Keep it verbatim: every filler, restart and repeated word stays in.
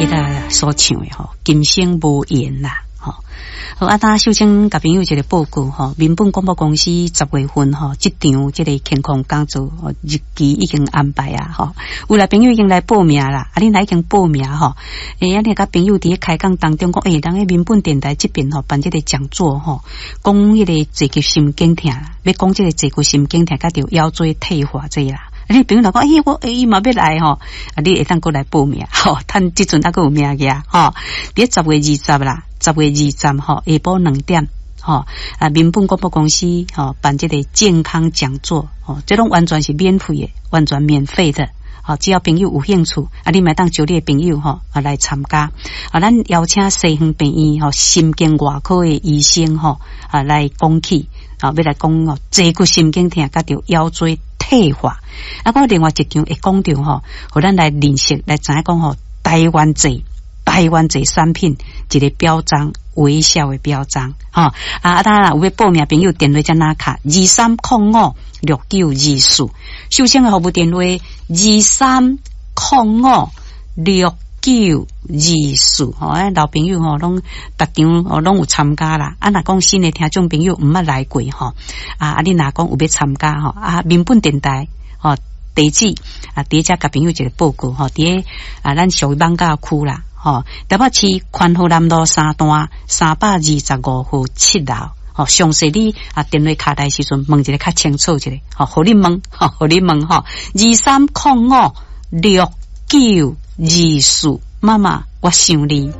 彼个所唱的吼，今生無緣啦，吼。好，啊，當秀清共朋友一個報告吼，民本廣播公司十月份吼，這場這個健康講座日期已經安排啊，吼，有來朋友已經來報名啦，啊，你若已經報名吼，欸，啊，你佮朋友佇咧開講當中講，欸，人咧民本電台這邊吼辦這個講座吼，講彼個坐骨神經痛，欲講這個坐骨神經痛，佮著腰椎退化這啦。啊，你朋友若講，欸，我欸伊嘛欲來吼，啊，你會當閣來報名，吼，趁這陣猶閣有名額，吼，佇十月二十啦，十月二十吼，下晡兩點，吼，啊，民本廣播公司吼辦這個健康講座，吼，這攏完全是免費的，完全免費的，吼，只要朋友有興趣，啊，你嘛會當招你的朋友吼啊來參加，啊，咱邀請西園病院吼神經外科的醫生吼啊來講起，啊，欲來講哦，坐骨神經痛佮著腰椎退化，啊，閣另外一場會講著吼，予咱來認識來知影講吼，台灣製台灣製產品一個標章，微笑的標章，吼啊啊！當然有欲報名朋友電話怎樣敲二三空五六九二四，秀清的服務電話二三空五六九二四，吼，啊老朋友吼攏逐場哦攏有參加啦。啊，若講新的聽眾朋友毋捌來過吼，啊啊，你若講有欲參加吼，啊，民本電台吼地址啊，佇遮共朋友一個報告吼，佇咧啊，咱屬於艋舺區啦，吼，台北市寬和南路三段三百二十五號七樓，吼，詳細你啊電話敲來時陣問一下較清楚一下，吼，予你問，吼，予你問吼，二三空五六九二四，媽媽，我想你。